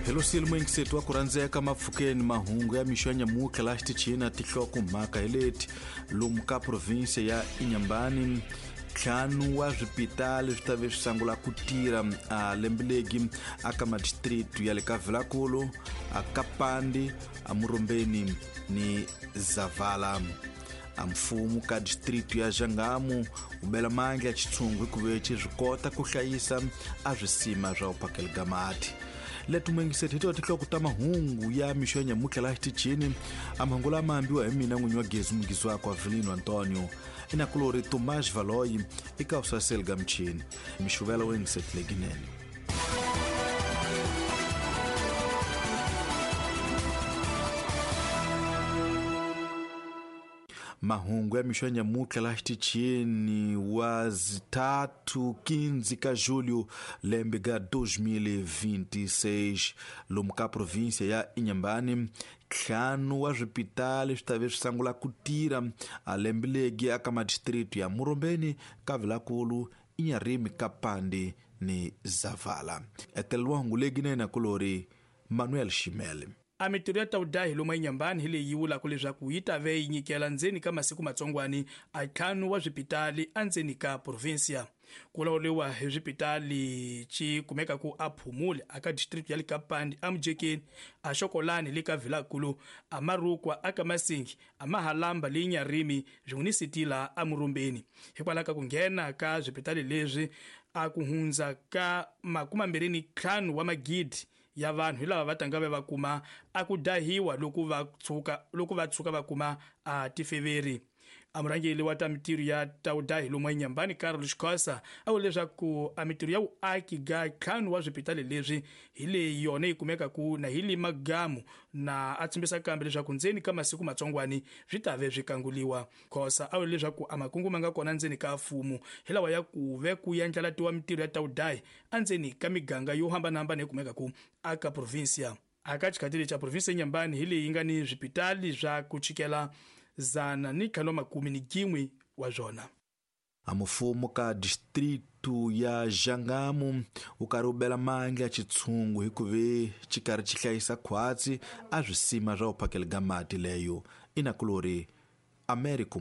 Helosile muyingiseti wa ku rhandzeka mapfukeni mahungu ya mixo ya nyamutlha laha xitichini na tinhlokomhaka hi leti lomu ka provinsia ya Inhambane ntlhanu wa swipitali swi ta ve swi sungula ku tirha a lembe legi aka madistritu ya le ka Vilankulu, a Kapandi, a Murombeni ni Zavala. A mfumo ka distritu ya Jangamo wu bela mandla ya xitshungu hikuva xi swi kota ku hlayisa a swisima swa vuphakeli ga mati. Leti muyingiseti hi tona tinhloko ta mahungu ya mixo ya nyamutlha laha xitichini. A mahungu lama ambiwa hi mina n'winyi wa gezi mungisi wakwe Avelino Antonio, inakulori Tomás Valoyi eka vusaseli ga michini. Mixuvela wo yingiseti leginene. Mahungu ya mixo ya nyamutlha laha xitichini wa zitatu 15 ka julho lembe ga 2026 lomu ka provinsia ya Inhambane ntlhanu wa swipitali swi ta ve swi sungula ku tirha a lembe legi aka madistritu ya Murombeni, ka Vilankulu, Inharime, Kapandi ni Zavala. Eteleriwa hungu legi na inakulori Manuel Shimele. A mitirho ya tawudahi lomu eNyambani hi leyi yi vulaka leswaku yi ta ve yi nyikela ndzeni ka masiku matsongwani a ntlhanu wa swipitali endzeni ka provinsia. Ku lawuriwa hi swipitali xi kumeka ku a Phumule aka district ya le Kapandi, a Mujekeni, a Xokolani le ka Vilankulu, a Marukwa aka Masingi, a Mahalamba le Nyarimi swin'we ni Sitila a Murombeni. Hikwalaho ka ku nghena ka swipitali leswi a ku hundza ka 25 wa magidi ya vanhu hi lava va tanga va kuma a ku dahiwa loko va tshuka va kuma a tifeveri. A murhangeri wa ta mitirho ya tawudahi lomu eNyambani Carlos Khosa a vula leswaku a mitirho ya vuaki ga ntlhanu wa swipitali leswi hi leyi yona yi kumeka ku na hi le Magamu, na a tshembisa kambe leswaku ndzeni ka masiku matsongwani swi ta ve swi kanguliwa. Khosa a vula leswaku a makungu ma nga kona ndzeni ka mfumo hi lawa ya ku ve ku yandlalatiwa mitirho ya tawudahi endzeni ka miganga yo hambanahambana yi kumeka ku aka provinsia. Aka xikhathi lexi a provinsia ya Inhambane hi leyi nga ni swipitali swa ku chikela 151 wa swona. A mfumo ka distritu ya Jangamo wu karhi wu bela mandla ya xitshungu hikuva xi karhi xi hlayisa khwatsi a swisima swa vuphakeli ga mati leyo inakulori Americo.